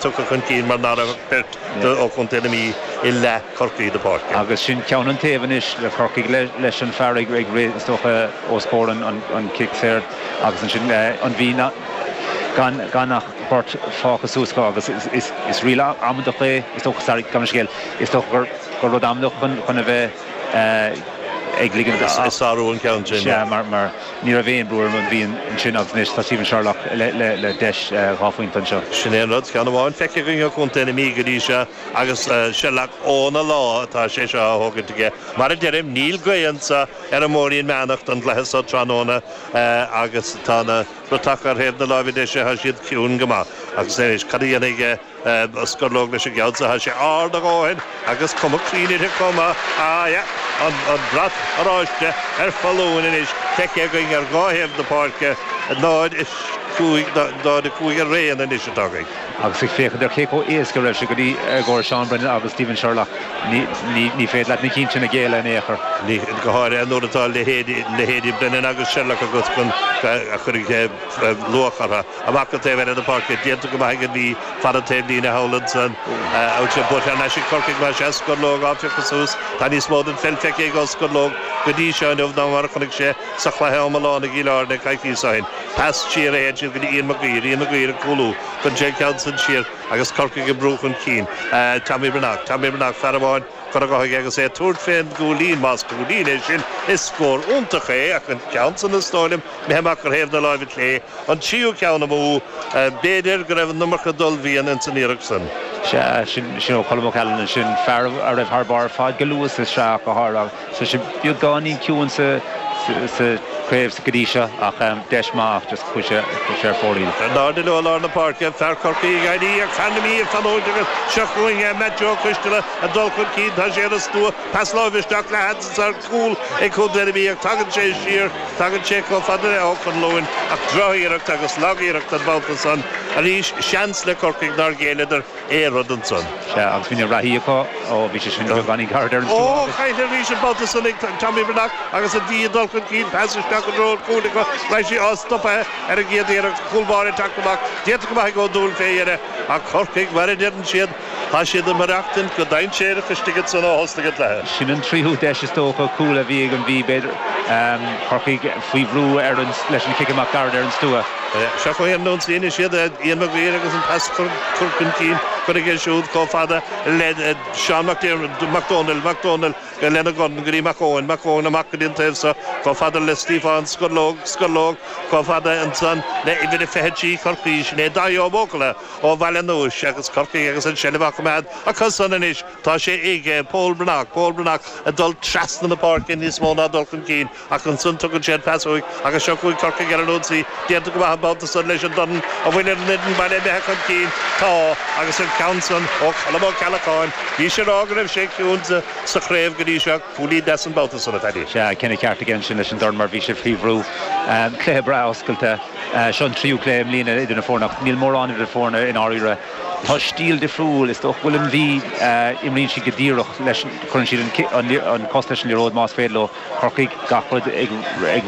tugtha chun cinn mar ná raibh ach beirt ó chontae na Mí i leath Chorcaí na páirce. Agus sin ceann an taobh anois le Corcaigh leis an fear ag rith is dócha os comhair an cic saor agus ansin an Mhí gan ach beirt fágtha suas acu agus is riail amaideach é is dócha, sorry, gabh mo leithscéal, is dócha gur rud amaideach chun a bheith ag ligean Ag sárú an ceann sin. Sea, mar ní raibh aon brú ar an Mhí ansin agus anois tá Stephen Sherlock le deis 2 phointe anseo. Sin é an rud, ceann amháin feicthe againn ó chontae na Mí go dtí seo agus Sherlock óna lá atá sé seo á thógaint aige. Mar a deirim, níl gaoth anso ar an mBóithrín Meánach don gcluiche so tráthnóna agus tá na bratacha ar thaobh na láimhe deise, tá siad ciúin go maith. Agus anois, cad a dhéanfaidh Sceirleog leis an gceann so? Tá sé ard a dhóthain agus cuma cruinn uirthi chomh maith. Ah, yeah, an brat oráiste ar foluain anois, feicthe againn ar dhá thaobh na páirce, 0, 5, 0, 5 araon anois atá againn. Agus ag féachaint ar cé chomh éasca a raibh sé go dtí i gcomhair Seán Brennan agus Stephen Sherlock, ní féidir leat na cinn sin a ghéilleadh in aon chor. Ní, go háirithe nuair atá leithéidí Brennan agus Sherlock agat chun a chuirfidh luach orthu. Amach go taobh eile na páirce, déanta go maith ag an Mhí, fad an taobh líne thall ansan. Ansin buailte thar n-ais ag Corcaigh más ea, Sceirleog á phiocadh suas. Tá níos mó den pheil feicthe ag Ó Sceirleog go dtí seo inniu ná mar a chonaic sé sa chluiche iomlán i gCill Airne coicíos ó shin. Pas siar a théann siad go dtí Ian Maguire, Ian Maguire ag cúlú. Cuireann sé an ceann san siar agus Corcaigh ag brú chun cinn. Tommy Breathnach, Tommy Breathnach, fear amháin curtha dhe aige agus é ag tabhairt fén gcúilín, más cúilín é sin, is scór iontach é ach an ceann san is dóigh liom imithe amach ar thaobh na láimhe clé. An tríú ceann amú. B'fhéidir go raibh an iomarca d'ullmhaíon ins an iarracht san. Sea, sin ó Cholm O'Callaghan ansin, fear a raibh thar barr ar fad go luath sa sraith ach go háirithe. Tá sé beagáinín ciúin sa chraobh go dtí seo ach deis maith ach just chuaigh sé ar fóraoil. In airde leo i lár na páirce, fear Chorcaí ag éirí ach fear na Mí ag fanúint agus seo chugainn é Matt Joe Coisteala ag dul chun cinn, tá sé ar an stua, pas láimhe isteach le seans ar chúl ag contae na Mí ach tagann sé siar, tagann sé chomh fada le Ó Conluain ach drochiarracht agus lagiarracht an babhta san arís, seans le Corcaigh nár ghéilleadar. aon rud ansan. Sea, agus bhí na reathaí acu, ó, bhí sé sin beagáinín gairid ar an stua agus. Ó, caillte arís an babhta san ag Tommy Breathnach agus an Mhí ag dul chun cinn, pas isteach i dtreo an chúil acu, raibh sí á stopadh ar an gcéad iarracht, cúl báire ag teacht amach, déanta go maith ag Ó Dúill fé dheireadh, ach Corcaigh, mar a deireann siad, tá siad ag maireachtaint go dainséarach istigh ansan ó thosnaigh an cluiche. Sin an tríú deis is dócha, cúl a bhí ag an Mhí, b'fhéidir. Corcaigh faoi bhrú ar an, leis an chic amach gairid ar an stua. Seo chugainn ar an ionsaí anois iad, Ian Maguire agus an pas curtha chun cinn, curtha aige siúd chomh fada le Seán Mac Dónaill, Mac Dónaill lena dhorn go dtí Mac Eoin, Mac Eoin amach go dtí an taobh seo chomh fada le Stiofán Sceirleog, Sceirleog chomh fada ansan le uimhir a 23 Chorcaí, sin é Dáithí Ó Buachalla ó Bhaile an Núis agus Corcaigh agus an seilbh á coimeád acu san anois. Tá sé ag Pól Breathnach, Pól Breathnach ag dul trasna na páirce níos mó ná dul chun cinn ach ansan tugann sé an pas uaidh agus seo chugainn Corcaigh ar an ionsaí. Déanta go maith an babhta san leis an dorn an bhfuil an fhoireann baile imithe chun cinn. Tá agus an ceann san ó Cholm Ó Ceallacháin. Bhís ag rá go raibh sé ciúin sa chraobh go dtí seo. Cúilín deas an babhta san, a Phaddy. Sea, cinneadh ceart aige ansin leis an dorn mar bhí sé faoi bhrú. Cluiche breá oscailte. Seo an tríú cluiche i mbliana idir na foirne ach níl mórán idir na foirne i ndáiríre. Tá stíl difriúil. Is dócha go bhfuil an Mhí, imríonn siad go díreach leis, cuireann siad an cos leis an liathróid más féidir leo. Corcaigh, gach rud ag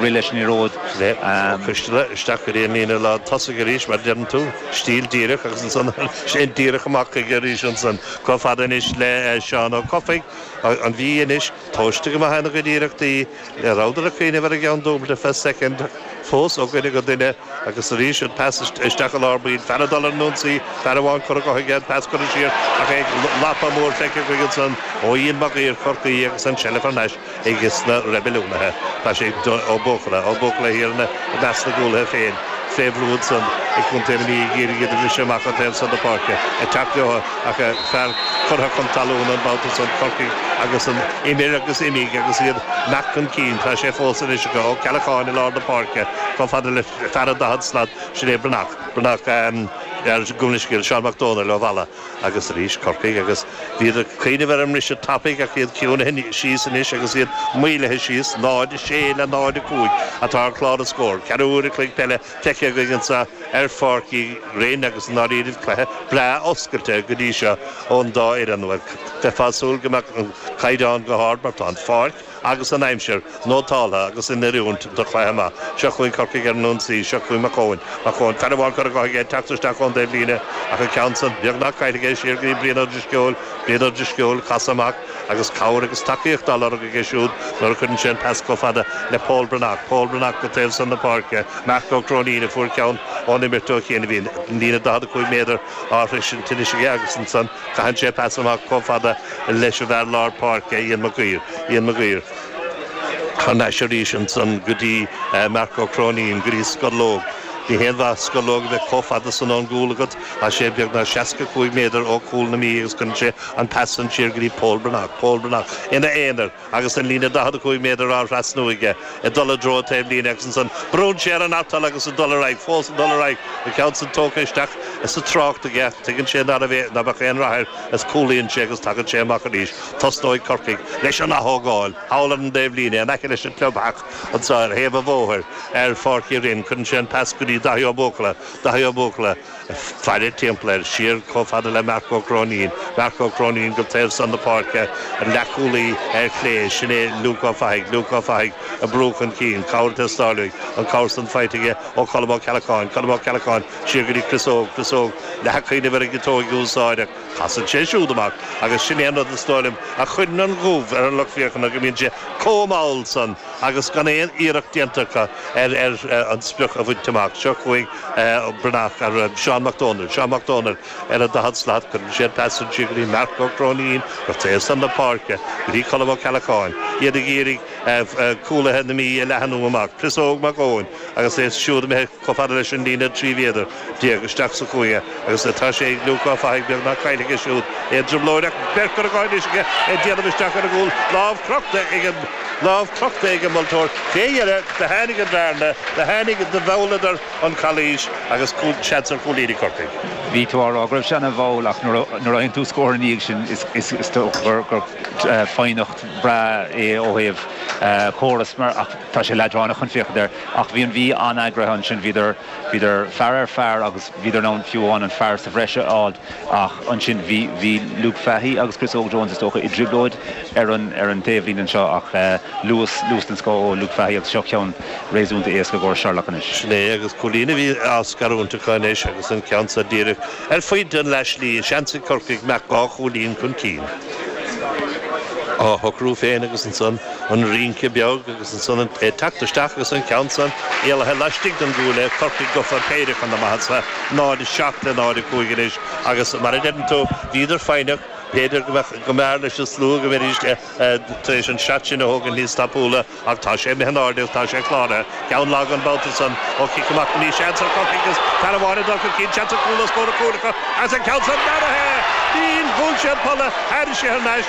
rith leis an liathróid. Ó Coisteala isteach go dtí an líne lán tosaigh arís, mar a deireann tú. Stíl díreach agus ansan sin díreach amach chuige arís ansan. Chomh fada anois le Seán Ó Cofaigh, an Mhí anois, tomhaiste go maith ina gcuid iarrachtaí. Rabhadar ag cuimhneamh ar an gceann dúbailte feadh soicind fós ó dhuine go duine agus arís an pas isteach i lár baill. Fear ag dul ar an ionsaí, fear amháin curtha dhe aige, an pas curtha siar ach é lapa mór feicthe againn ansan ó Ian Mag Uidhir Chorcaí agus an tseilbh thar n-ais aige sna Reibiliúnaithe. Tá sé ag Ó Buachalla, Ó Buachalla thiar i measc na gcúlaithe féin. Fé bhrú ansan ag contae na Mí ag iarraidh iad a bhriseadh amach an taobh san de páirce, ag teacht leo ach fear curtha chun talún an babhta san, Corcaigh agus an imir agus imigh agus iad imeacht chun cinn. Tá sé fós anois acu. Ó Ceallacháin i lár na páirce chomh fada le fear an 40 slat, sin é Breathnach. Breathnach ar gabh mo leithscéal, Seán Mac Dónaill ó Mhalla agus arís Corcaigh agus bhíodar ag cuimhneamh ar an mbriseadh tapaidh ach iad ciúnaithe síos anois agus iad maolaithe síos. 0, 6 le 0, 5 atá ar chlár na scór. Ceathrú uair a chloig peile feicthe againn anseo ar Pháirc Uí Rinn agus i ndáiríribh cluiche breá oscailte go dtí seo ón dá fhoireann. Bhuel, bheifeá ag súil go mbeadh an caighdeán go hard mar tá an pháirc. agus an aimsir nótáltha agus in oiriúint do chluiche maith. Seo chugainn Corcaigh ar an ionsaí, seo chugainn Mac Eoin, Mac Eoin, fear amháin curtha dhe aige ag teacht isteach ón dtaobhlíne ach an ceann san beagnach caillte aige siar go dtí Brian Ó Drisceoil, Brian Ó Drisceoil, casadh amach agus cabhair agus tacaíocht á lorg aige siúd nuair a chuireann sé an pas chomh fada le Pól Breathnach, Pól Breathnach go taobh san na páirce, Marc Ó Cróinín a fuair ceann ón imirt ó chian a bhí an líne 45 méadar á shroisint anois aige agus ansan caitheann sé pas amach chomh fada leis an bhfear lár páirce Ian Mac Uidhir, Ian Mac Uidhir thar n-ais arís ansan go dtí Marc Ó Cróinín, go dtí Scológ. Ní haon mhaith Scológ a bheith chomh fada san ón gcúl agat, tá sé beagnach 65 méadar ó chúl na Mí agus cuireann sé an pas san siar go dtí Pól Breathnach, Pól Breathnach ina aonar agus an líne 45 méadar á thrasnú aige ag dul i dtreo taobhlíne agus ansan brúnn sé ar an artal agus ag dul ar aghaidh, fós ag dul ar aghaidh, an ceann san tógtha isteach sa trácht aige, tuigeann sé ná raibh, ná beadh aon rath air is cúlaíonn sé agus tagann sé amach arís. Tosnóidh Corcaigh leis an ath-thógáil thall ar an dtaobhlíne in aice leis an clubtheach anseo ar thaobh an bhóthair ar Pháirc Uí Rinn. Cuireann sé an pas go dtí Daithí Ó Buachalla. Daithí Ó Buachalla ag faire timpeall air, siar chomh fada le Marc Ó Cróinín. Marc Ó Cróinín go taobh san na páirce, an leathchúlaí ar chlé, sin é Luke Ó Fathaigh. Luke Ó Fathaigh ag brú chun cinn, cabhair ag teastáil uaidh, an cabhair san faighte aige ó Cholm Ó Ceallacháin. Colm Ó Ceallacháin siar go dtí Chris Óg. Chris Óg leath a chuimhneamh ar an gciotóig a úsáid ach casann sé siúd amach agus sin é an rud is dóigh liom a chuireann an ghoimh ar an lucht féachana go mbíonn sé chomh mall san agus gan aon iarracht déanta acu ar an sprioc a bhaint amach. Seo chugainn Breathnach ar Seán Mac Dónaill. Seán Mac Dónaill ar an 40 slat. Cuireann sé an pas san siar go dtí Marc Ó Cróinín go taobh san na páirce go dtí Colm Ó Ceallacháin. Iad ag iarraidh cúlaithe na Mí a leathanú amach. Chris Óg Mac Eoin agus é siúd imithe chomh fada leis an líne 13 mhéadar isteach sa chúinne agus tá sé ag Luke Ó Fathaigh beagnach caillte aige siúd. É i dtrioblóid ach beirt curtha dhe anois aige ag déanamh isteach ar an gcúl. Lámh crochta ag an lámh crochta ag an moltóir. Fé dheireadh do tháinig an bhearna, do tháinig, do mhealladar an chalaois agus cúl, seans ar chúilín ag Corcaigh. Bhí tú á rá go raibh sé ana-mhall ach nuair a fhaigheann tú scór ina dhiaidh sin is dócha gur foighneacht bhreá é ó thaobh córas mar ach tá sé leadránach chun féachaint air ach bhí an Mhí an-eagraithe ansin, bhíodar bhíodar fear ar fear agus bhíodar in ann fiú amháin an fear sa bhreis a fháil ach ansin bhí bhí Luke Fahy agus Chris Óg Jones is dócha i dtrioblóid ar an ar an taobhlíne anseo ach luas luas den scoth ó Luke Fahy agus seo ceann réasúnta éasca i gcomhair Sherlock anois. Sin é agus cúilín a bhí á scarúint acu anois agus an ceann seo díreach ar phointe an leathshlí, seans ag Corcaigh imeacht dhá chúilín chun cinn. Á shocrú féin agus ansan an rince beag agus ansan é ag teacht isteach agus an ceann san éalaithe laistigh den gcuaille, Corcaigh gafa péire chun na maitheasa, 0, 7 le 0, 5 anois agus mar a deireann tú, bhíodar foighneach, b'fhéidir go mbeadh, go mb'fhearr leis an slua go mbeidís tar éis an seat sin a thógaint níos tapúla ach tá sé imithe in airde agus tá sé cláraithe. Ceann lag an babhta san ó chic amach na Mí. Seans ar Chorcaigh agus fear amháin ag dul chun cinn. Seans ar chúl os comhair an chúil acu agus an ceann san mearaithe! Níl! Bhuail sé an polla, tháinig sé thar n-ais.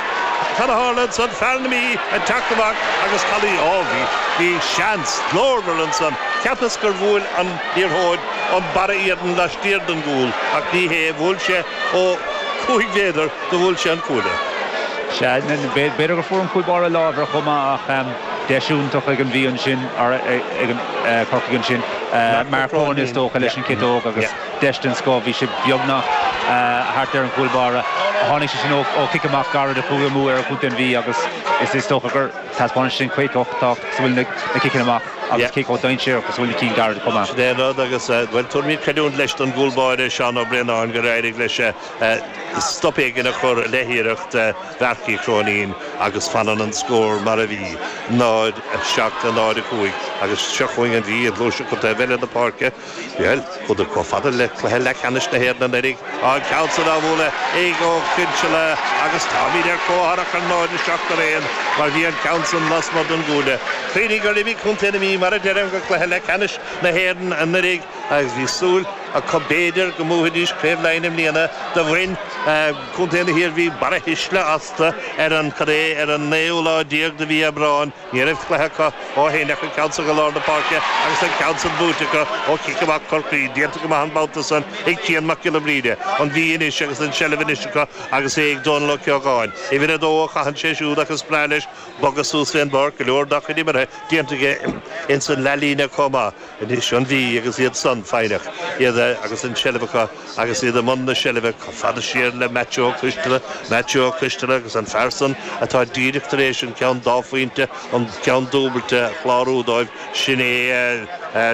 Cad a tharla ansan? Fear na Mí ag teacht amach agus calaois. Ó, bhí, bhí seans glórmhar ansan. Cheapas gur bhuail an liathróid an barra iarainn laistiar den gcúl ach ní hé, bhuail sé ó chúig mhéadar do bhuail sé an cuaille. Sea, b'fhéidir gur fuair an cúl báire lámh air chomh maith ach deis iontach ag an Mhí ansin, ag Corcaigh ansin, Mark Cronin is dócha leis an ciotóg agus deis den scoth, bhí sé beagnach thart ar an gcúl báire. Tháinig sé sin ó chic amach gairid a chuaigh amú ar chontae an Mhí agus is dócha gur taispeánann sé sin cé chomh tábhachtach is a bhfuil na ciceanna amach agus cé chomh dainséarach is a bhfuil na cinn gairid chomh maith. Sin é an rud agus, bhuel, tabharfaimid creidiúint leis don gcúl báire, Seán Ó Braonáin, gur éirigh leis stop éigin a chur le hiarracht Mharc Uí Chróinín agus fanann an scór mar a bhí, 0, 7 le 0, 5 agus seo chugainn an Mhí ag gluaiseacht go taobh eile na páirce. Bhuel, chuadar chomh fada le cluiche leathcheannais na hÉireann anuraidh, an ceann san á bhualadh ag Ó Coinsile agus táimid ar comhtharrac ar 0, 7 araon mar bhí an ceann san lasmuigh den gcuaille. Cuimhnigh gur imigh contae na Mí mar a deirim go cluiche leathcheannais na hÉireann anuraidh agus bhí súil acu b'fhéidir go mbuafaidís Craobh Laighean i mbliana. Do bhain contae na hIarmhí barrathuisle astu ar an, cad é, ar an naoú lá déag de mhí Aibreáin. Ní raibh cluiche acu ó shin ach an ceann san go lár na páirce agus an ceann san buaite acu ó chic amach Chorcaí. Déanta go maith an babhta san ag Cian Mac Giolla Bhríde. An Mhí anois agus an tseilbh anois acu agus é ag Dónal Ó Ceocháin. Uimhir a dó a chaitheann sé siúd ach is breá leis bogadh suas fén bpáirc. Go leor dá chuid imeartha déanta aige ins an leathlíne chomh maith. Anois an Mhí agus iad san foighneach, iad. agus an tseilbh acu agus iad i mbun na seilbhe chomh fada siar le Maitiú Ó Coisteala, Maitiú Ó Coisteala agus an fear san atá díreach tar éis an ceann dá phointe, an ceann dúbailte a chlárú dóibh, sin é,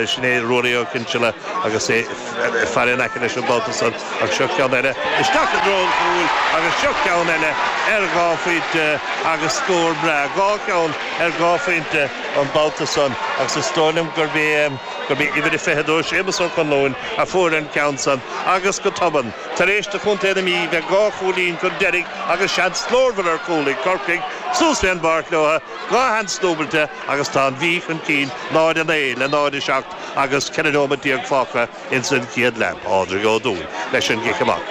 sin é Ruairí Ó Cinnseala agus é ag faire in aice leis an mbabhta san ach seo ceann eile isteach i dtreo an chúil agus seo ceann eile ar dhá phointe agus scór breá, dhá cheann ar dhá phointe an babhta san agus is dóigh liom gurb é, gurb é uimhir a 22, Séamus Ó Conluain, a fuair an ceann san agus go tobann, tar éis do chontae na Mí bheith dhá chúilín chun deiridh agus seans glórmhar ar chúl ag Corcaigh, suas fén bpáirc leo, dhá sheans dúbailte agus tá an Mhí chun cinn 0-9 le 0-7 agus 14 nóiméad fágtha ins an chéad leath. Pádraig Ó Dúill leis an gcic amach.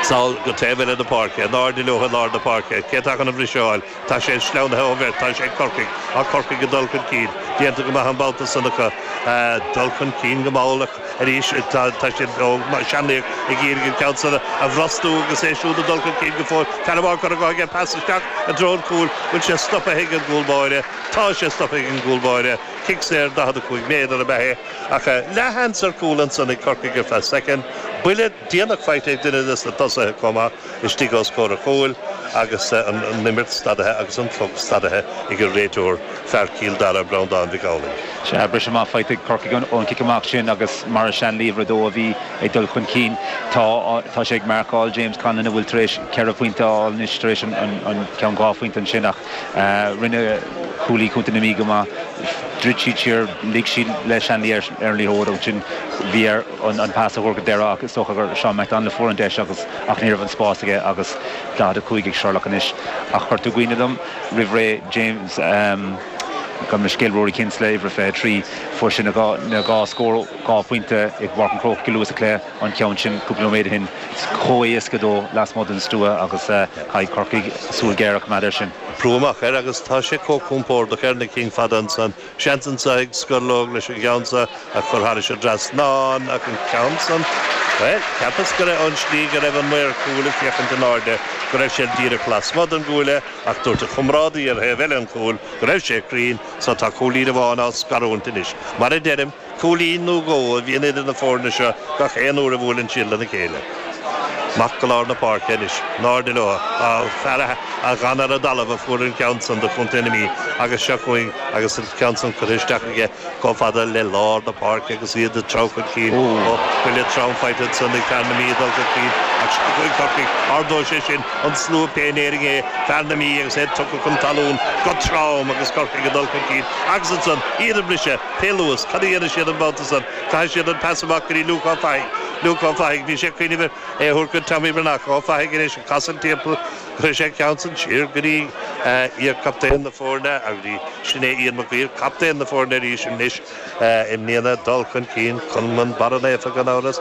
Sall go taobh eile na páirce, in airde leo i lár na páirce. Cé atá chun an bhriseadh a fháil? Tá sé sleamhnaithe ó bheirt, tá sé ag Corcaigh. Tá Corcaigh ag dul chun cinn. Déanta go maith an babhta san acu. Dul chun cinn go mall ach arís tá siad ó Seanlaoch ag iarraidh an ceann san a bhrostú agus é siúd ag dul chun cinn go fóill. Fear amháin curtha dhe aige, pas isteach i dtreo an chúil. Bhfuil sé stoptha ag an gcúl báire? Tá sé stoptha ag an gcúl báire. Cic saor 45 méadar ab ea é ach leathsheans ar chúl ansan ag Corcaigh ar feadh soicind. Buille déanach faighte ag duine des na tosaithe chomh maith. istigh os comhair an chúil agus an imirt stadaithe agus an clog stadaithe ag an réiteoir, fear Chill Dara, Breandán Mhic Amhlaigh. Sea, briseadh maith faighte ag Corcaigh ón chic amach sin agus mar a Shanley uimhir a dó a bhí ag dul chun cinn. Tá tá sé ag marcáil James Conlon a bhfuil tar éis ceithre phointe a fháil anois tar éis an ceann dhá phointe ansin ach rinne cúlaí Chontae na Mí go maith. Dhruid siad siar, lig siad le Shanley ar an liathróid ansin bhí air an pas a thabhairt go deireadh ach is dócha gur Seán McDonald a fuair an deis agus ach ní raibh an spás aige agus 45 ag Sherlock anois. Ach chuir tú i gcuimhne dom roimh ré James, gabh mo leithscéal, Rory Kinsella, uimhir 23, fuair sé na dhá scór, dhá phointe i bPáirc an Chrócaigh go luath sa chluiche, an ceann sin cúpla nóiméad ó shin. Chomh héasca dó lasmuigh den stua agus caithfidh Corcaigh súil ghéar a choimeád air sin. Brú amach air agus tá sé chomh compordach ar na cinn fada ansan. Seans anso ag Scorlóg leis an gceann so a chur thairis an dtrasnán ach an ceann san, bhuel, cheapas go raibh, ón slí go raibh an maor cúil ag féachaint in airde, go raibh sé díreach lasmuigh den gcuaille ach dúirt a chomrádaí ar thaobh eile an chúil go raibh sé cruinn, so tá cúilín amháin á scarúint anois. Mar a deirim, Cúilín nó dhó a bhíonn idir na foirne seo gach aon uair a bhuaileann siad lena chéile. Amach go lár na páirce anois. In airde leo. Fear a d'fhan ar an dtalamh a fuair an ceann san do chontae na Mí agus seo chugainn agus an ceann san curtha isteach aige chomh fada le lár na páirce agus iad ag treabhadh chun cinn. Ó, buille trom faighte ansan ag fear na Mí ag dul chun cinn ach seo chugainn Corcaigh. Ardóidh sé sin an slua pé in Éirinn é, fear na Mí agus é tugtha chun talún go trom agus Corcaigh ag dul chun cinn agus ansan iad ag briseadh. Pé luas, cad a dhéanfaidh siad an babhta san? Caithfidh siad an pas amach go dtí Luke Ó Fathaigh. Luke Ó Fathaigh, bhí sé ag cuimhneamh ar é a thabhairt go Tommy Breathnach. Ó Fathaigh anois ag casadh timpeall, chuir sé an ceann san siar go dtí iar-chaptaen na foirne, agus sin é Ian Mac Guill, captaen na foirne arís anois i mbliana, dul chun cinn, Cumann Barra Naofa gan amhras,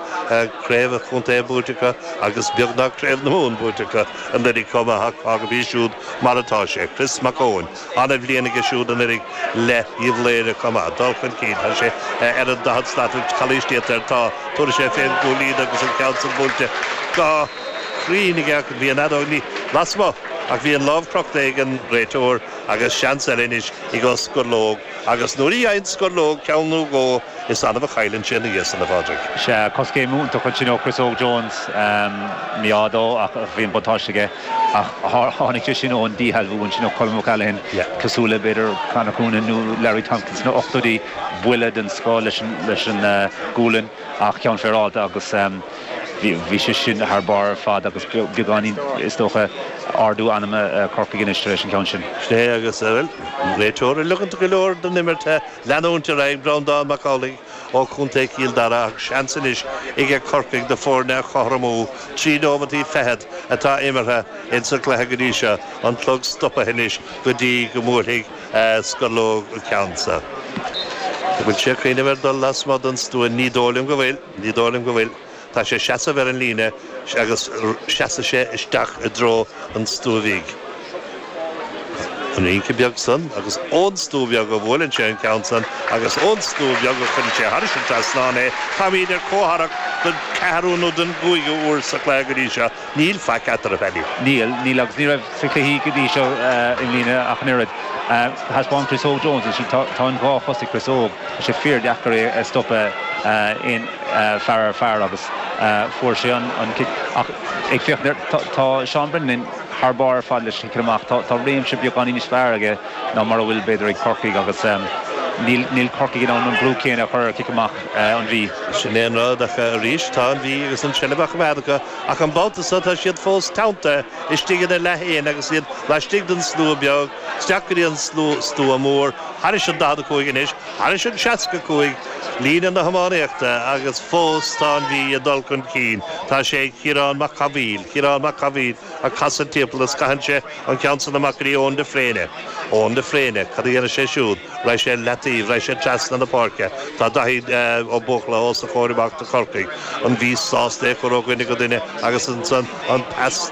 craobh an chontae buaite acu agus beagnach craobh na Mumhan buaite acu anuraidh chomh maith ach fágfaimid siúd mar atá sé. Chris Mac Eoin. Ana-bhliain aige siúd anuraidh le Uíbh Laoghaire chomh maith. Dul chun cinn. Tá sé ar an 40 slat. Calaois déanta air. Tá. Tabharfaidh sé fén gcúilín agus an ceann san buailte go cruinn aige ach bhí an fheadóg ní lasmuigh ach bhí an lámh crochta ag an réiteoir agus seans eile anois ag Ó Scorlóg agus nuair a fhaigheann Scorlóg ceann nó dhó is annamh a chailleann sé ina dhiaidh san, a Phádraig. Sea, coiscéim iontach ansin ó Chris Óg Jones. Mí-ádh dó ach bhí an buntáiste aige. Ach tháinig sé sin ón díshealbhú ansin ó Colm O'Callaghan, cosúil le b'fhéidir Conor Coonan nó Larry Tompkins sna ochtóidí, buille den scoth leis an gualainn ach ceann féaráilte agus bhí sé sin thar barr ar fad agus beagáinín, is dócha, ardú anama Corcaigh anois tar éis an ceann sin. Sin é agus, bhuel, réiteoir ag ligint go leor den imirt leanúint ar aghaidh, Breandán Mac Amhlaigh ó Chontae Chill Dara ach seans anois aige Corcaigh na foirne a chothromú. Trí nóimeataí fichead atá imeartha ins an gcluiche go dtí seo, an clog stopaithe anois go dtí go mbuailfidh Scorlóg an ceann seo. An bhfuil sé ag cuimhneamh ar dul lasmuigh den stua? Ní dóigh liom go bhfuil, ní dóigh liom go bhfuil. Tá sé ag seasamh ar an líne agus seasfaidh sé isteach i dtreo an stua bhig. An rince beag san agus ón stua bheag a bhuaileann sé an ceann san agus ón stua bheag a chuireann sé thairis an trasnán é. Táimíd ar comhtharrac don ceathrú nó don gcúigiú uair sa chluiche go dtí seo. Níl faic eatarthu, Paddy. Níl, níl agus ní raibh sa chluichí go dtí seo i mbliana ach an oiread. Thaispeáin Chris Óg Jones ansin, tá an dhá chos ag Chris Óg, tá sé fíordheacair é a stopadh. aon fear ar fear agus fuair sé an cic. Ach ag féachaint air, tá Seán Brennan thar barr ar fad leis an chic amach. Tá réimse beagáinín níos fearr aige ná mar a bhfuil b'fhéidir ag Corcaigh agus níl Corcaigh in ann an brú céanna a chur ar chic amach an Mhí. Sin é an rud ach arís tá an Mhí agus an tseilbh á choimeád acu ach an babhta seo tá siad fós teanntaithe istigh ina leath fhéin agus iad laistigh den slua beag, isteach go dtí an stua mór, thairis an 45 anois, thairis an 65, líne na hiománaíochta agus fós tá an Mhí ag dul chun cinn. Tá sé ag Ciarán Mac Cathmhaoil, Ciarán Mac Cathmhaoil ag casadh timpeall agus caitheann sé an ceann san amach go dtí Eoin de Fréine. Eoin de Fréine, cad a dhéanfaidh sé siúd? Raghaidh sé leataobh, raghaidh sé trasna na páirce. Tá Daithí Ó Buachalla os a chomhair amach do Chorcaigh. An Mhí sásta é a chur ó dhuine go duine agus ansan an pas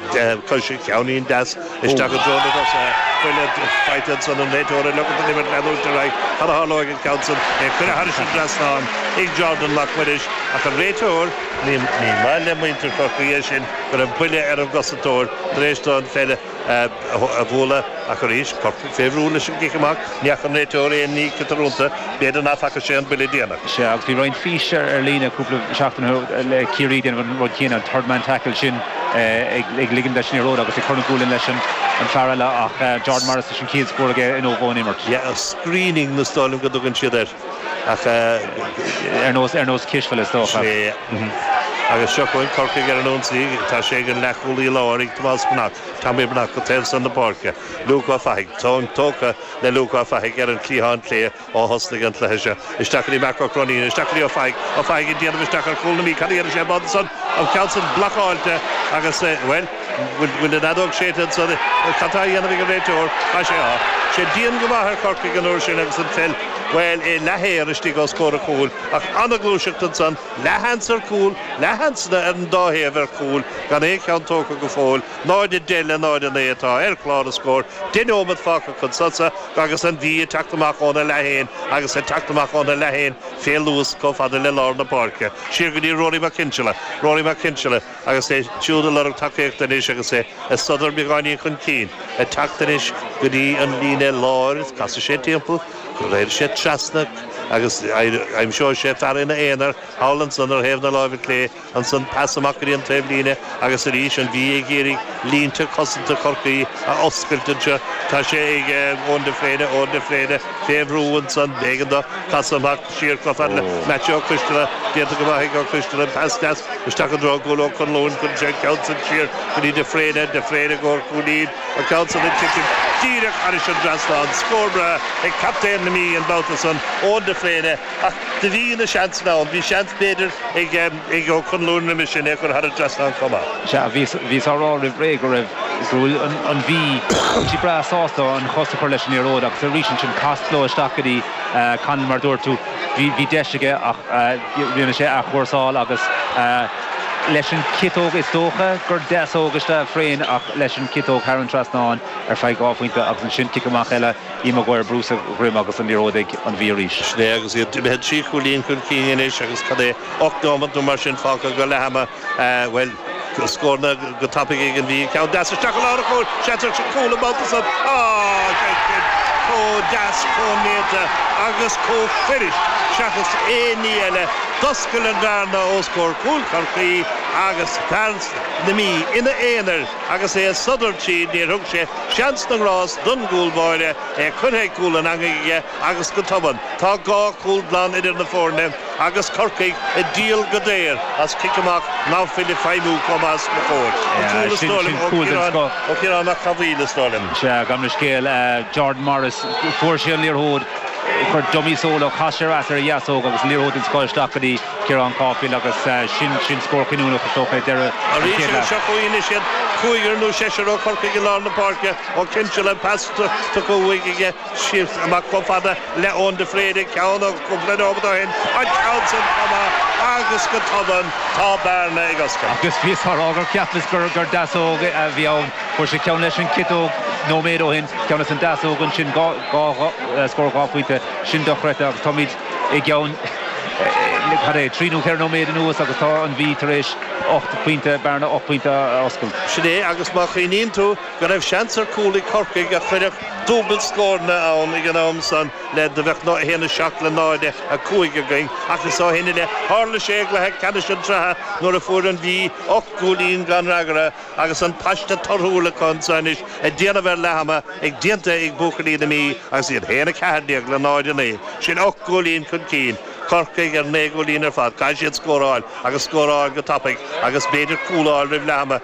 coise ceainnín deas isteach i dtreo na dtosaithe. Buille faighte ansan an réiteoir ag leogaint don imirt leanúint ar aghaidh. Cad a tharlóidh an ceann san? É curtha thairis an dtrasnán ag Jordan Mac Muiris ach an réiteoir, ní maith le muintir Chorcaí é sin go raibh buille ar an gcosantóir tar éis dó an pheil a bhualadh ach arís, Corcaigh fé bhrú leis an gcic amach, ní fhaca an réiteoir aon ní ciotrúnta, b'fhéidir ná faca sé an buille déanach. Sea, agus bhí roinnt fís ar líne cúpla seachtain ó shin le Ciarraí ag déanamh an rud céanna, an third man tackle sin ag ligean leis an liathróid agus ag cur an gualainn leis an fear eile ach Jordan Morris leis an chéad scór aige inniu ón imirt. Yeah, screening is dóigh liom go dtugann siad air ach. Ar nós, ar nós cispheile is dócha. Sea. Agus seo chugainn Corcaigh ar an ionsaí, tá sé ag an leathchúlaí láir ag Tomás Breathnach, Tommy Breathnach go taobh san na páirce. Luke Ó Fathaigh, tóin tógtha le Luke Ó Fathaigh ar an chliathán clé ó thosnaigh an cluiche seo. Isteach go dtí Marc Ó Croinín, isteach go dtí Ó Fathaigh, Ó Fathaigh ag déanamh isteach ar chúl na Mí, cad a dhéanfaidh sé an babhta san? An ceann san blocáilte agus, bhuel, bhfuil an fheadóg séidte ansan? Cad tá á dhéanamh ag an réiteoir? Tá sé á. Sé dian go maith ar Chorcaigh an uair sin agus an pheil, bhuel, é leath-aer istigh os comhair an chúil ach an-ghluaiseacht ansan, leathsheans ar chúl, leathsheansanna ar an dá thaobh ar chúl, gan aon cheann tógtha go fóill. 0-10 le 0-9 atá ar chlár na scór, 10 nóiméad fágtha chun sosa agus an Mhí ag teacht amach óna leath fhéin agus ag teacht amach óna leath fhéin fé luas chomh fada le lár na páirce. Siar go dtí Rory Mac Cinnseala. Rory Mac Cinnseala agus é siúd ag lorg tacaíochta anois agus é ag sodar beagáinín chun cinn, ag teacht anois go dtí an líne láir, casfaidh sé timpeall, raghaidh sé trasna agus aimseoidh sé fear ina aonar thall ansan ar thaobh na láimhe clé. Ansan pas amach go dtí an taobhlíne agus arís an Mhí ag iarraidh línte cosanta Chorcaí a oscailt anseo. Tá sé ag Eoin de Fréine, Eoin de Fréine fé bhrú ansan. B'éigean dó casadh amach siar chomh fada le Maitiú Ó Coisteala. Déanta go maith ag Ó Coisteala. An pas deas isteach i dtreo Ghoul Ó Conluain. Cuireann sé an ceann san siar go dtí de Fréine. De Fréine i gcomhair cúilín. An ceann san ag titim díreach thairis an dtrasnán. Scór breá ag captaen na Mí an babhta san, Eoin de Fréine. Ach do bhí na seansanna ann. Bhí seans, b'fhéidir, ag Ó Conluain roimhe sin é a chur thar an dtrasnán chomh maith. Sea, bhíos á rá roimh ré go raibh, go bhfuil an Mhí, bhfuil siad breá sásta an chos a chur leis an liathróid agus arís ansin cast leo isteach go dtí Conlon mar dúirt tú, bhí deis aige ach rinne sé athchúrsáil agus leis an chiotóg is dócha gur deasóg is ea Frayne ach leis an chiotóg thar an trasnán ar feadh dhá phointe agus ansin cic amach eile. Ian Maguire brú sa dhroim agus an liathróid ag an Mhí arís. Sin é agus iad imithe trí chúilín chun cinn anois agus cad é, 8 nóiméad nó mar sin fágtha go leath ama, bhuel, scóranna go tapaidh ag an Mhí. Ceann deas isteach i lár an chúil, seans ar chúl an babhta san. Á, sé sin chomh deas, chomh néata agus chomh fuirist seachas aon ní eile. D'oscail an bhearna os comhair chúl Chorcaí agus fear na Mí ina aonar agus é ag sodar tríd, níor thug sé Seans na ngrást don gcúl báire, é curtha ag cúl an eangaigh aige agus go tobann tá dhá chúl glan idir na foirne agus Corcaigh ag díol go daor as cic amach ná fuil ag feidhmiú chomh maith is ba chóir. An cúl is dóigh liom ó Chiarán Mac Cathmhaoil is dóigh liom. Sea, gabh mo leithscéal, Jordan Morris, fuair sé an liathróid, chuir dummy solo, chas sé ar ais ar a dheasóg agus liathróid den scoth isteach go dtí Ciarán Caulfield agus sin, sin scór cinniúnach is dócha ag deireadh an Arís chéad agus leath. seo chugainn anois iad, cúigear nó seisear ó Chorcaigh i lár na páirce, Ó Cinnseala, pas tugtha uaidh aige siar amach chomh fada le Eoin de Fréine, ceann ó chúpla nóiméad ó shin, an ceann san chomh maith agus go tobann tá bearna ag oscailt. Agus bhíos á rá gur cheapas gur gur deasóg a bhí ann. Fuair sé ceann leis an ciotóg nóiméad ó shin, ceann leis an deasóg ansin, dhá scór dhá phointe, sin dochreidte agus táimid i gceann. cad é, 3 nó 4 nóiméad anuas agus tá an Mhí tar éis 8 bpointe, bearna 8 bpointe a oscailt. Sin é, agus má chuimhníonn tú go raibh seans ar chúl ag Corcaigh a chuirfeadh dúbailt scóranna ann ag an am san le do bheadh 1, 7 le 0, 5 againn ach is ó shin i leith tharla sé i gcluiche ceannais an tsraithe nuair a fuair an Mhí 8 gcúilín gan fhreagra agus an paiste torthúil acu anso anois ag déanamh ar leath ama ag déanta ag buachaillí na Mí agus iad 1, 14 le 0, 9. Sin 8 gcúilín chun cinn. Corcaigh ar 9 gcúilín ar fad. Caithfidh siad scóráil agus scóráil go tapaidh agus b'fhéidir cúl a fháil roimh leath ama.